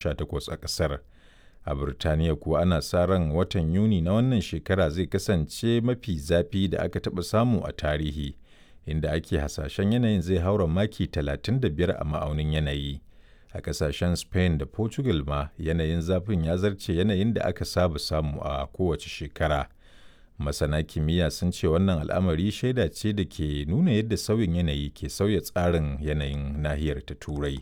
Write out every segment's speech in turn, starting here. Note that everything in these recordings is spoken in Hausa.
18 a ƙasar. A Birtaniya kuwa ana sa ran watan Yuni na wannan shekara zai kasance mafi zafi da aka taɓa samu a tarihi, inda ake hasashen yanayin zai haura maki 35 a ma'aunin yanayi. A ƙasashen Spain da Portugal ma yanayin zafin ya zarce yanayin da aka saba samu a kowace shekara. Masana kimiyya sun ce wannan al'amari shaida ce da ke nuna yadda sauyin yanayi ke sauya tsarin yanayin nahiyar ta Turai.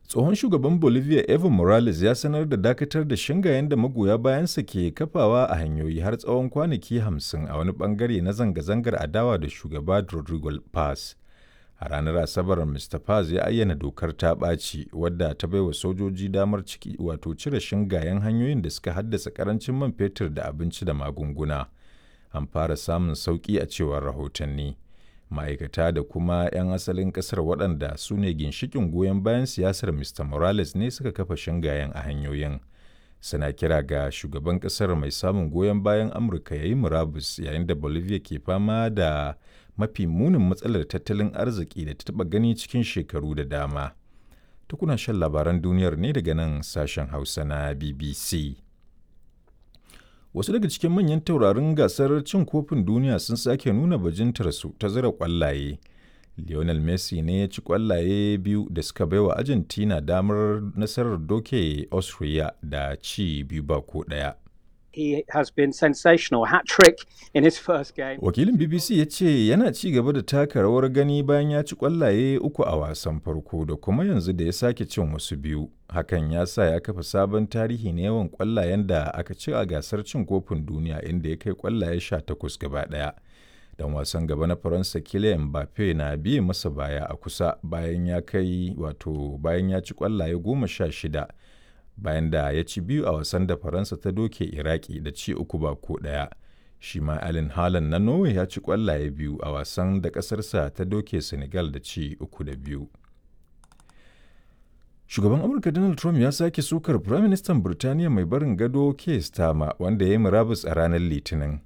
Tsohon shugaban Bolivia Evo Morales ya sanar da dakatar da shingayen da magoya bayansa ke kafawa a hanyoyi har tsawon kwanaki 50 a wani bangare na zanga-zangar adawa da shugaba Rodrigo Paz. A ranar Asabar Mr. Paz ya ayyana dokar ta ɓaci wadda ta baiwa sojoji damar ciki wato cire shingayen hanyoyin da suka haddasa karancin man fetur da abinci da magunguna. An fara samun sauƙi a cewar rahotanni. Ma'aikata da kuma 'yan asalin ƙasar waɗanda su ne ginshiƙin goyon bayan siyasar Mr. Morales ne suka kafa shingayen a hanyoyin. Suna kira ga shugaban ƙasar mai samun goyon bayan Amurka ya yi murabus yayin da Bolivia ke fama da mafi munin matsalar tattalin arziki da ta taɓa gani cikin shekaru da dama. Tukuna shan labaran duniyar ne daga nan sashen Hausa na BBC. Wasu daga cikin manyan taurarin gasar cin kofin duniya sun sake nuna bajintarsu ta zira kwallaye. Lionel Messi ne ya ci kwallaye biyu da suka baiwa Argentina damar nasarar doke Austria da ci 2 ba ko 1. He has been sensational. Hat trick in his first game. Wakilin BBC ya ce yana ci gaba da taka rawar gani bayan ya ci kwallaye uku a wasan farko da kuma yanzu da ya sake cin wasu biyu. Hakan ya sa ya kafa sabon tarihi na yawan kwallayen da aka ci a gasar cin kofin duniya inda ya kai kwallaye 18 gaba ɗaya. Dan wasan gaba na Faransa Kylian Mbappe na biye masa baya a kusa bayan ya kai wato bayan ya ci kwallaye 16 bayan da ya ci biyu a wasan da Faransa ta doke Iraki da ci 3 ba ko 1. Shi ma Erling Haaland na Norway ya ci ƙwallaye biyu a wasan da ƙasarsa ta doke Senegal da ci 3 da 2. Shugaban Amurka Donald Trump ya sake sukar Firaministan Birtaniya mai barin gado Keir Starmer wanda ya yi murabus a ranar Litinin.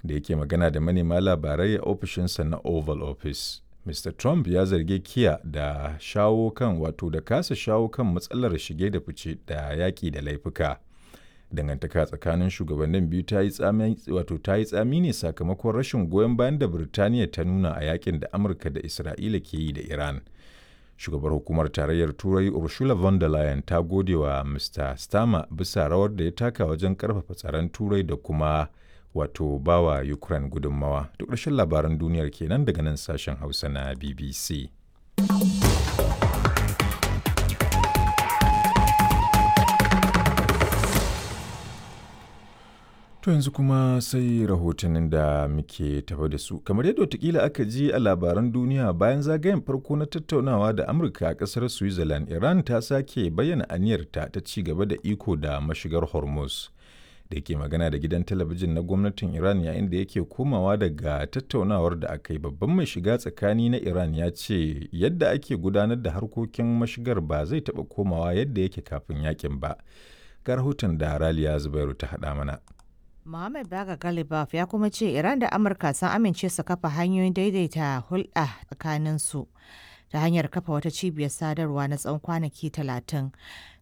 Da yake magana da manema labarai a ofishinsa na Oval Office. Mr. Trump ya zargi Kiya da shawo kan wato da kasa shawo kan matsalar shige da fice da yaƙi da laifuka. Dangantaka tsakanin shugabannin biyu ta yi tsami wato ta yi tsami ne sakamakon rashin goyon bayan da Birtaniya ta nuna a yakin da Amurka da Isra'ila ke yi da Iran. Shugabar hukumar tarayyar Turai Ursula von der Leyen ta gode wa Mr. Starmer bisa rawar da ya taka wajen karfafa tsaron Turai da kuma wato bawa Ukraine gudunmawa. Duk ƙarshen labaran duniyar kenan daga nan sashen Hausa na BBC. To yanzu kuma sai rahotannin da muke tafa da su. Kamar yadda watakila aka ji a labaran duniya bayan zagayen farko na tattaunawa da Amurka a ƙasar Switzerland, Iran ta sake bayyana aniyarta ta ci gaba da iko da mashigar Hormuz. Da ke magana da gidan talabijin na gwamnatin Iran yayin da yake komawa daga tattaunawar da aka yi babban mai shiga tsakani na Iran ya ce yadda ake gudanar da harkokin mashigar ba zai taɓa komawa yadda yake kafin yakin ba. Ga rahoton da Raliya Zubairu ta haɗa mana. Mohammed Baga Galibaf ya kuma ce Iran da Amurka sun amince su kafa hanyoyin daidaita hulɗa tsakaninsu ta hanyar kafa wata cibiyar sadarwa na tsawon kwanaki 30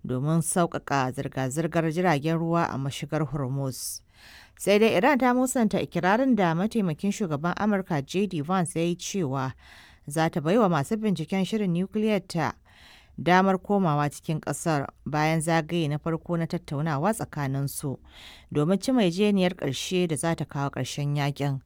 domin sauƙaƙa zirga-zirgar jiragen ruwa a mashigar Hormuz. Sai dai Iran ta musanta ikirarin da mataimakin shugaban Amurka JD Vance ya yi cewa za ta baiwa masu binciken shirin nukiliyar ta damar komawa cikin kasar bayan zagaye na farko na tattaunawa tsakaninsu domin cimma yarjejeniyar ƙarshe da za ta kawo ƙarshen yakin.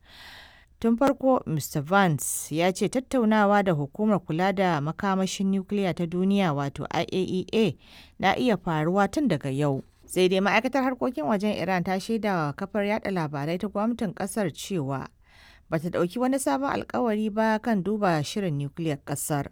Tun farko, Mr. Vance ya ce tattaunawa da hukumar kula da makamashin nukiliya ta duniya wato IAEA na iya faruwa tun daga yau. Sai dai ma'aikatar harkokin wajen Iran ta shaidawa kafar yada labarai ta gwamnatin kasar cewa bata dauki wani sabon alkawari ba kan duba shirin nukiliyar kasar.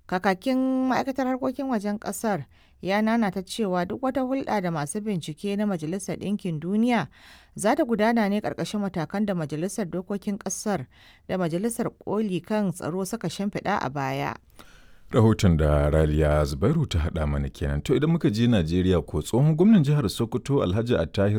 Kakakin ma'aikatar harkokin wajen kasar ya nanata cewa duk wata hulɗa da masu bincike na Majalisar Ɗinkin Duniya za ta gudana ne ƙarƙashin matakan da Majalisar Dokokin Ƙasar da Majalisar Koli kan Tsaro suka shimfiɗa a baya. Rahoton da Raliya Zubairu ta haɗa mana kenan. To idan muka je Najeriya ko tsohon gwamnan jihar Sokoto Alhaji Attahir